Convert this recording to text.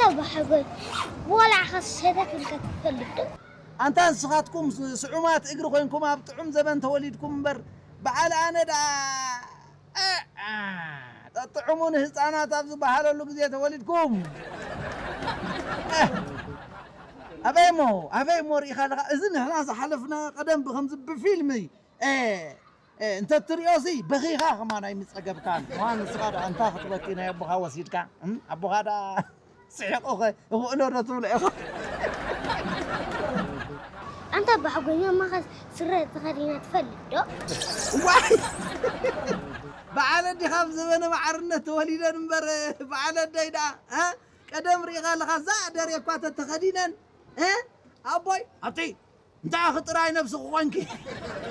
ኣባ ሓጎይ፣ ወላ ዓኻ ሰደት ኢልካ ትፈልጥ ዶ? ኣንታ ንስኻትኩም ስ-፣ ስዑማት እግሪ ኮይንኩም ኣብ ጥዑም ዘበን ተወሊድኩም እምበር፣ በዓል ኣነ ደኣ፣ እ፣ እ፣ ጠጥዑሙ ንህፃናት ኣብ ዝበሃለሉ ግዜ ተወሊድኩም። እ፣ ኣበይ እሞ፣ ኣበይ እሞ ርኢኻ ኣለኻ? እዚ ንሕና ዝሓለፍና ቀደም ብኸምዚ ብፊልም፣ እ፣ እ፣ እንተ ትሪኦ ሲ በኺኻ ከማን ኣይምፀገብካን። እዋን ንስኻ ደኣ እንታ ክትበኪ ናይ ኣቦኻ ወሲድካ፣ እም፣ ኣቦኻ ደኣ ስሒቑኸ እኽእሎ ዶ ትብሎ ኢኻ? ኣንታ ኣባ ሓጎይ፣ ማማኸ ስረ ተኸዲና ትፈልጥ ዶ? ዋይ! በዓል ኣዲ ካብ ዘበነ ማዕርነት ተወሊደን እምበር፣ በዓል ኣደይ ደኣ፣ እ? ቀደም ርኢኻ ኣለኻ፣ እዛ ደሬ እኳ ተተኸዲነን፣ እ? ኣቦይ፣ ኣብቲ እንታይ ኣኺ ጥራይ ነብስኺ ኮንኪ?